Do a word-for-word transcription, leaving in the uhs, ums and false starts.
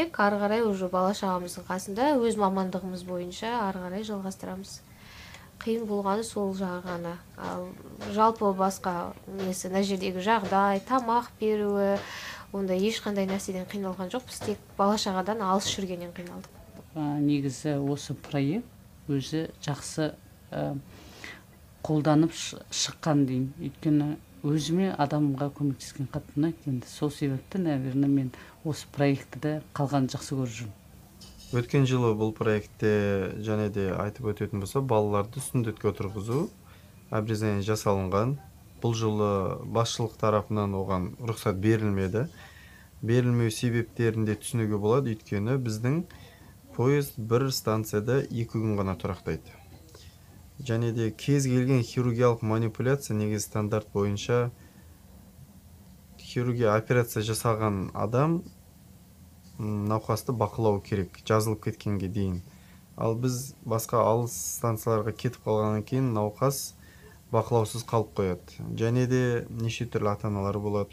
ары карай уже бала чагыбыздын касында өз мамандыгыбыз боюнча ары карай жалгастырабыз. Кыйын болгону сол жагы гана. Ал жалпы башка эмеси, мына жердеги жагдай, тамак берүү, ондай эч кандай нерседен кыйналган жокпуз, тек бала чагадан алыс жүргөндөн кыйналдык. Негизи осы проект өзү жакшы колданып чыккан дейм. Өйткөнү өзүмө адамга көмөктескен катты унайт энди. Сол себептен, наверное, мен осы проектте калганды жакшы көрүп жүрүм. Өткөн жылы бул проектте жана эле айтып өтөтүн болсо, балаларды сүндөткө отургузуу обрезание жасалынган. Бул жылы башчылык тарафынан оган уруксат берилмеди. Берилмөө себептерин да түшүнүүгө болот, өйткөнү биздин поезд бир станцияда эки күн гана турактайт. Жана эле кез келген хирургиялык манипуляция негизи стандарт боюнча хирургия операция жасаган адам навхасты бакылоо керек, жазылып кеткенге дейин. Ал биз башка алыс станцияларга кетип калгандан кийин навхас бакылоосуз калып коет. Жана эле нече түрлүү ата-аналар болот.